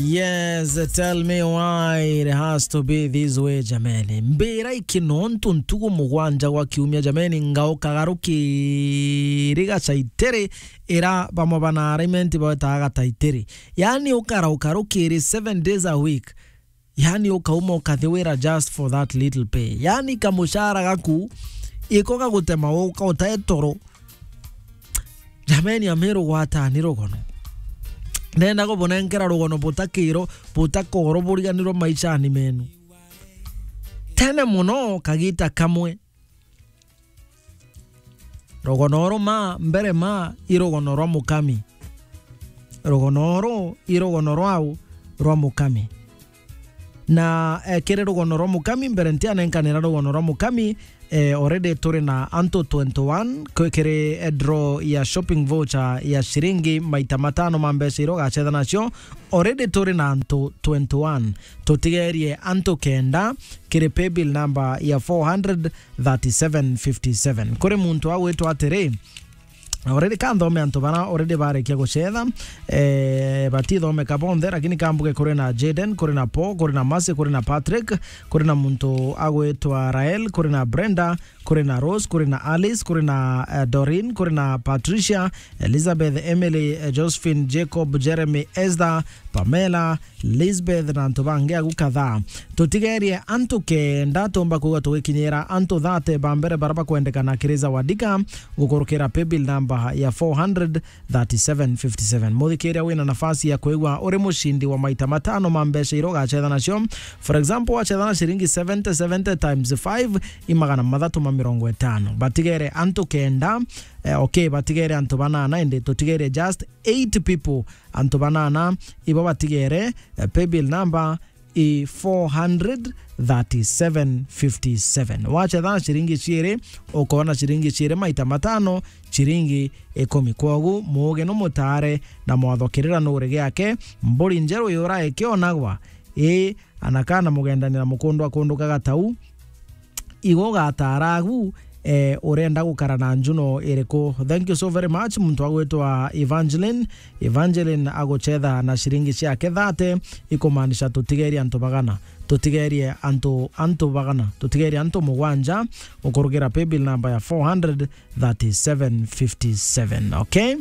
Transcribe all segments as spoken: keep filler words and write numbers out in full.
Yes, tell me why it has to be this way, jameni. Mbira iki nontu ntugu mugwanja gwa kiumia, jameni, ngaukaga rukiri gacaitiri, ira bamwe bana arraignment bawetaga gataitiri. Yani, ukarauka rukiri seven days a week. Yani, ukauma ukathi wira just for that little pay. Yani, kamushara gaku, iko gagutema uka utae toro. Jameni, amiru gwatani rugono. Ndenda kubunenkera rugono butakiro, butakoro buriganirwo maishani menu. Tene muno, kagita kamwe. Rugono uru ma, mbere ma, i rugono rwa mukami. Rugono uru i rugono rwau rwa mukami. Na, eh, kiri rugono rwa mukami, mbere ntianenkanira rugono rwa mukami, eh, already turi na antu twenty-one kwi-, kiri, eh, draw ya shopping voucher ya ciringi maita matano ma mbeca iria ugacetha nacio. Already turi na antu twenty-one. Tutigerie antu kenda kiri paybill number ya four hundred thirty-seven fifty-seven. Kuri muntu agwitwa atiri, already ka nthome antu bara already barekia gucetha, eh, batithomeka bonthe, lakini kambuge kuri na Jaden, kuri na Paul, kuri na Mercy, kuri na Patrick, kuri na muntu agwitwa Rael, kuri na Brenda, kuri na Rose, kuri na Alice, kuri na, eh, Doreen, kuri na Patricia, Elizabeth, Emily, eh, Josephine, Jacob, Jeremy, Esther, Pamela, Lisbeth na antu bangi agu kadhaa. Tutigerie antu kenda tumba kwigua tugikinyira antu thate ba mbere bara bakwendekana kiri Zawadika gukurukira paybill number ya four hundred thirty-seven fifty-seven. Muthikiria wina nafasi ya kwigua uri mucindi wa maita matano ma mbeca iria ugacetha nacio. For example, wacetha na ciringi seventy, seventy times five i magana mathatu ma mirongo itano. Batigere antu kenda, eh, okay, batigere antu banana, indi tutigerie just eight people. Antu banana ibo batigere, eh, paybill number i four hundred thirty-seven fifty-seven. Wacetha na ciringi ciiri, ukoona ciringi ciiri maita matano, ciringi ikumi. Kwogu, muuge numutaare na mwatho kirira nuuri giake, mburi njeru yura ikionagwa, ii, ana kana mugendanira mukundu akundukaga tau, igo ugataara agu, eh, urenda gukara na njuno iriku? Thank you so very much, muntu agwitwa Evangeline. Evangeline agucetha na ciringi ciake thate, ikumaanisha tutigerie antu bagana. Tutigerie antu, antu bagana. Tutigerie antu mugwanja, ukurugira paybill number ya four hundred thirty-seven fifty-seven. Okay?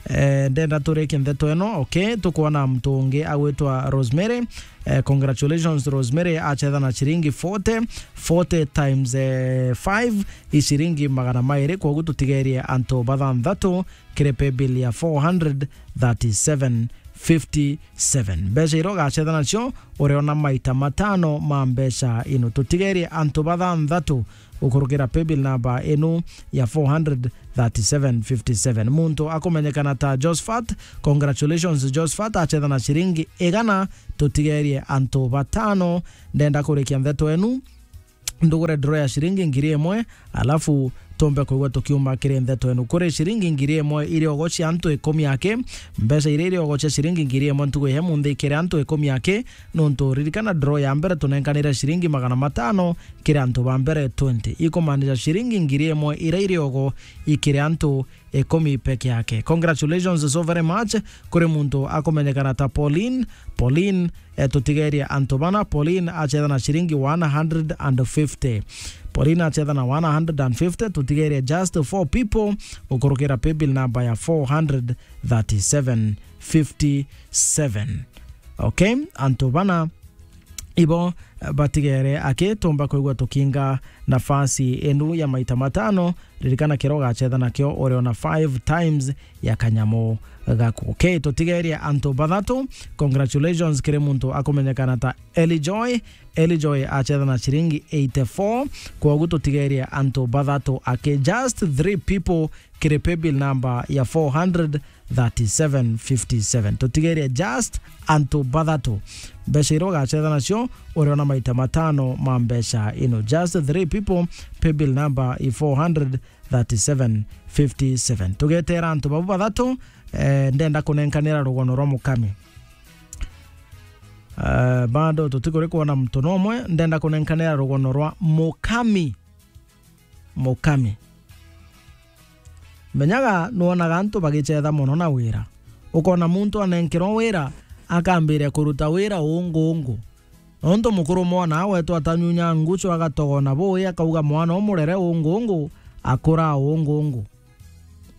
Eh, ndenda turikie ndeto ino. Okay, tukwona muntu ungi agwitwa Rosemary. Eh, congratulations, Rosemary achetha na ciringi forty, forty times, eh, five, i ciringi magana mairi. Kwogu tutigerie antu bathanthatu kiri paybill ya four hundred thirty-seven fifty-seven. Mbeca iria ugachetha nacio, uriona maita matano ma mbeca ino. Tutigerie antu bathanthatu gukurukira paybill number inu ya four hundred thirty-seven fifty-seven. Muntu akumenyekana ta Josephat. Congratulations, Josephat achetha na ciringi igana. Tutigerie antu batano. Ndenda kurikia ndeto enu, ndugure draw ya ciringi ngiri imwe, alafu tumbe kwigua tukiuma kiri ndeto enu. Kuri ciringi ngiri imwe iriogo cia antu ikumi aki, mbeca iria iriogo cia ciringi ngiri imwe ntugu ya munthi kiri antu ikumi aki, nontu ririkana draw ya mbere tunenkanire ciringi magana matano kiri antu ba mbere twenty. Ikumaanisha ciringi ngiri imwe iria iriogo ikiri antu ikumi peke yake. Congratulations so very much kuri muntu akumenyekana ta Pauline. Pauline, eh, tutigerie antu bana. Pauline achetha na ciringi one hundred and fifty. Pauline achetha na one hundred and fifty, tutigerie just four people gukurukira paybill number ya four hundred thirty-seven fifty-seven. Okay, antu bana ibo, eh, batigere aki, tumba kwigua tukinga nafasi enu ya maita matano. Ririkana kiria ugachetha nakio uriona five times ya kanyamu gaku. Okay, tutigerie antu bathatu. Congratulations kiri muntu akumenyekana ta Eli Joy. Eli Joy achetha na ciringi eighty-four. Kwogu tutigerie antu bathatu aki, just three people kiri paybill number ya four hundred thirty-seven fifty-seven. Tutigerie just antu bathatu. Mbeca iria ugachetha nacio, uriona maita matano ma mbeca ino. Just three people, paybill number i four hundred thirty-seven fifty-seven. Tugetera antu babu bathatu, eh, ndenda kunenkanira rugono rwa mukami. Eh, bado tutikuri kuona muntu nomwe, ndenda kunenkanira rugono rwa mukami. Mukami. Menyaga nwonaga antu bagichetha mono na wira. Ukona muntu anenkerwa wira, akambiria kuruta wira ungungu. Nontu mukuru mwana agwetwa atanyunya nguchu agatogona bui, akauga mwana umurere ungungu, akura ungungu.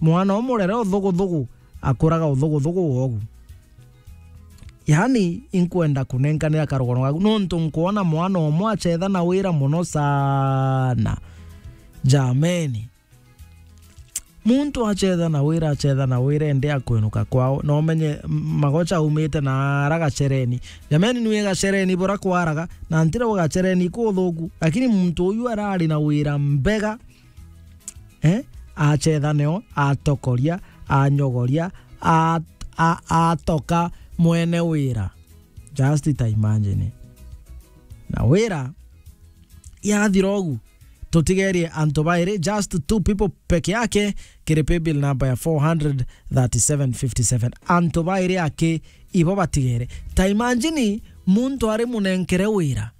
Mwana umurere uthuguthugu, akuraga uthuguthugu wogu. Yaani, inkwenda kunenkanira karugono gaku, nontu nkwona mwana umwe achetha na wira mono sana. Jameni. Muntu achetha na wira, achetha na wira, ende akwinuka kwao. Na umenye, m-, magocha aumite na ara gachereni. Jameni, nwi gachereni bura kwaraga, na ntira gachereni kuthuku. Lakini muntu uyu arari na wira mbega, eh? Achetha neo, atokoria, anyogoria, a-, a-, atoka mwene wira. Just ta imagine. Na wira yathira ugu, tutigerie antu bairi, just two people peke yake, kiri paybill number ya four hundred thirty-seven fifty-seven. Antu bairi aki ibo batigere. Ta imagine muntu ari munenkere wira,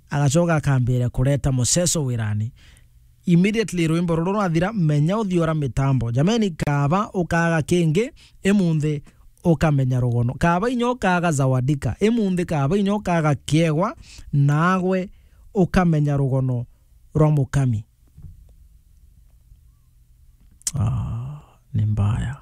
agacoka akambiria kureta muceso wirani. Immediately rwimbo ruru rwathira, menya uthiora mitambo. Jameni, kaba ukaga kingi, imunthi ukamenya rugono. Kaba inya ukaga zawadika, imunthi kaba inya ukaga kiegwa, nagwe ukamenya rugono rwa mukami. Ah, ni mbaya.